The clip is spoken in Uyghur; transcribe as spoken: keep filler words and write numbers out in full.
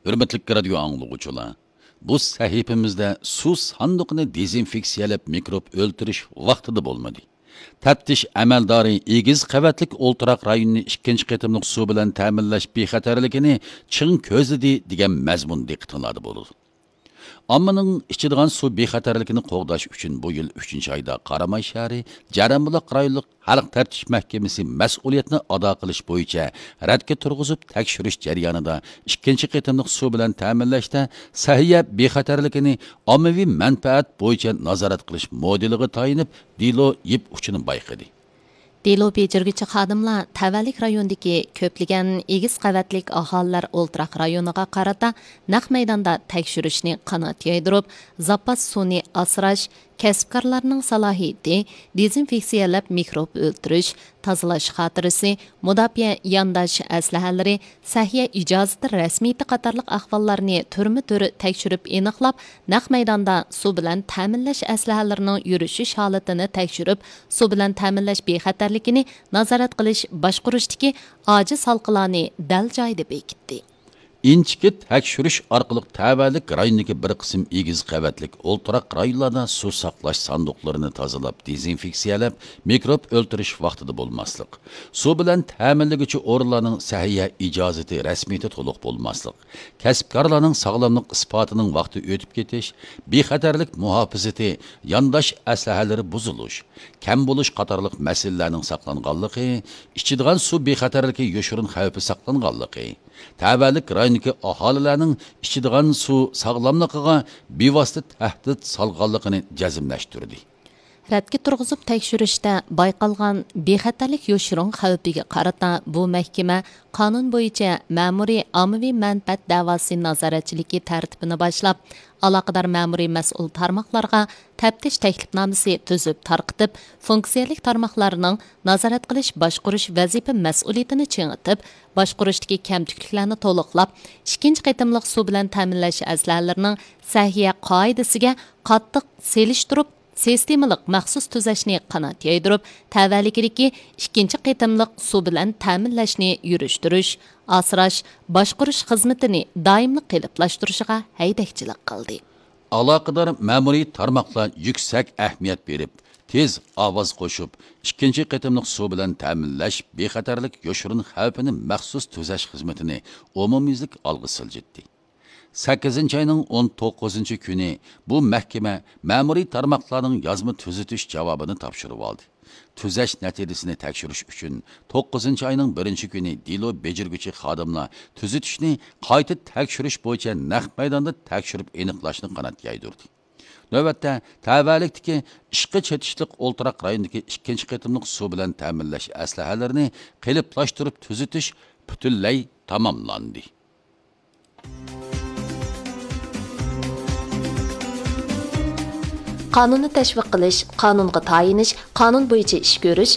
ھۆرمەتلىك رادىيو ئاڭلىغۇچىلار، بۇ سەھىپىمىزدە سۇ ساندۇقىنى دېزىنفېكسىيەلەپ مىكروب ئۆلتۈرۈش ۋاقتىدا بولمىدى. تەپتىش ئەمەلدارى ئېگىز قەۋەتلىك ئولتۇراق رايونىنى ئىككىنچى قېتىملىق سۇ بىلەن تەمىنلەش بىخەتەرلىكىنى چىڭ كۆزلىدى دېگەن مەزمۇن دىققىتىڭلاردا بولىدۇ. ئاممىنىڭ ئىچىدىغان سۇ بىخەتەرلىكىنى قوغداش ئۈچۈن بۇ يىل ئۈچىنچى ئايدا قاراماي شەھىرى جەرەنبۇلاق رايونلۇق خەلق تەپتىش مەھكىمىسى مەسئۇلىيەتنى ئادا قىلىش بويىچە رەتكە تۇرغۇزۇپ تەكشۈرۈش جەريانىدا ئىككىنچى قېتىملىق سۇ بىلەن تەمىنلەشتە سەھىيە بىخەتەرلىكىنى ئاممىۋى مەنپەئەت بويىچە نازارەت قىلىش مودېلىغا تايىنىپ دېلو يىپ ئۇچىنى بايقىدى. دېلو بېجىرگۈچى خادىملار تەۋەلىك رايوندىكى كۆپلىگەن ئېگىز قەۋەتلىك ئاھالىلەر ئولتۇراق رايونىغا قارىتا نەق مەيداندا تەكشۈرۈشنى قانات يايدۇرۇپ، زاپاس سۇنى ئاسراش، كەسىپكارلارنىڭ سالاھىيىتى، دېزىنفېكسىيەلەپ مىكروب ئۆلتۈرۈش، تازىلاش خاتىرىسى، مۇداپىئە يانداش ئەسلىھەلىرى، سەھىيە ئىجازىتى رەسمىيىتى قاتارلىق ئەھۋاللارنى تۈرمە تۈر تەكشۈرۈپ ئېنىقلاپ، نەق مەيداندا سۇ بىلەن تەمىنلەش ئەسلىھەلىرىنىڭ يۈرۈشۈش ھالىتىنى تەكشۈرۈپ، سۇ بىلەن تەمىنلەش بىخەتەرلىكىنى نازارەت قىلىش باشقۇرۇشتىكى ئاجىز ھالقىلارنى دەل جايىدا بېكىتتى. ئىنچىكە تەكشۈرۈش ئارقىلىق تەۋەلىك رايوندىكى بىر قىسىم ئېگىز قەۋەتلىك ئولتۇراق رايونلاردا سۇ ساقلاش ساندۇقلىرىنى تازىلاپ، دېزىنفېكسىيەلەپ، مىكروب ئۆلتۈرۈش ۋاقتىدا بولماسلىق، سۇ بىلەن تەمىنلىگۈچى ئورۇنلارنىڭ سەھىيە ئىجازىتى رەسمىيىتى تولۇق بولماسلىق، كەسىپكارلارنىڭ ساغلاملىق ئىسپاتىنىڭ ۋاقتى ئۆتۈپ كېتىش، بىخەتەرلىك مۇھاپىزىتى، يانداش ئەسلىھەلىرى بۇزۇلۇش، كەم بولۇش قاتارلىق مەسىلىلەرنىڭ ساقلانغانلىقى، ئىچىدىغان سۇ بىخەتەرلىكى يوشۇرۇن خەۋپى ساقلانغانلىقى، تەۋەلىك رايوندىكى ئاھالىلەرنىڭ ئىچىدىغان سۇ ساغلاملىقىغا بىۋاسىتە تەھدىت سالغانلىقىنى جەزملەشتۈردى. رەتكە تۇرغۇزۇپ تەكشۈرۈشتە بايقالغان بىخەتەرلىك يوشۇرۇن خەۋپىگە قارىتا بۇ مەھكىمە قانۇن بويىچە مەمۇرىي ئاممىۋى مەنپەئەت دەۋاسى نازارەتچىلىكى تەرتىپىنى باشلاپ، ئالاقىدار مەمۇرىي مەسئۇل تارماقلارغا تەپتىش تەكلىپنامىسى تۈزۈپ تارقىتىپ، فۇنكسىيەلىك تارماقلارنىڭ نازارەت قىلىش باشقۇرۇش ۋەزىپە مەسئۇلىيىتىنى چىڭىتىپ، باشقۇرۇشتىكى كەمتۈكلۈكلەرنى تولۇقلاپ، ئىككىنچى قېتىملىق سۇ بىلەن تەمىنلەش ئەسلىھەلىرىنىڭ سەھىيە قائىدىسىگە قاتتىق سېلىشتۇرۇپ، سىستېمىلىق مەخسۇس تۈزەشنى قانات يايدۇرۇپ، تەۋەلىكىدىكى ئىككىنچى قېتىملىق سۇ بىلەن تەمىنلەشنى يۈرۈشتۈرۈش، ئاسراش، باشقۇرۇش خىزمىتىنى دائىملىق قېلىپلاشتۇرۇشىغا ھەيدەكچىلىك قىلدى. ئالاقىدار مەمۇرىي تارماقلار يۈكسەك ئەھمىيەت بېرىپ، تېز ئاۋاز قوشۇپ، ئىككىنچى قېتىملىق سۇ بىلەن تەمىنلەش بىخەتەرلىك يوشۇرۇن خەۋپىنى مەخسۇس تۈزەش خىزمىتىنى ئومۇميۈزلۈك ئالغا سىلجىتتى. سەككىزىنچى ئاينىڭ ئون توققۇزىنچى كۈنى بۇ مەھكىمە مەمۇرىي تارماقلارنىڭ يازما تۈزىتىش جاۋابىنى تاپشۇرۇۋالدى. تۈزەش نەتىجىسىنى تەكشۈرۈش ئۈچۈن، توققۇزىنچى ئاينىڭ بىرىنچى كۈنى دېلو بېجىرگۈچى خادىملار تۈزىتىشنى قايتا تەكشۈرۈش بويىچە نەق مەيداندا تەكشۈرۈپ ئېنىقلاشنى قانات يايدۇردى. نۆۋەتتە، تەۋەلىكتىكى ئىشقا چېتىشلىق ئولتۇراق رايونىدىكى ئىككىنچى قېتىملىق سۇ بىلەن تەمىنلەش ئەسلىھەلىرىنى قېلىپلاشتۇرۇپ تۈزىتىش پۈتۈنلەي تاماملاندى. قانۇننى تەشۋىق قىلىش، قانۇنغا تايىنىش، قانۇن بويىچە ئىش كۆرۈش،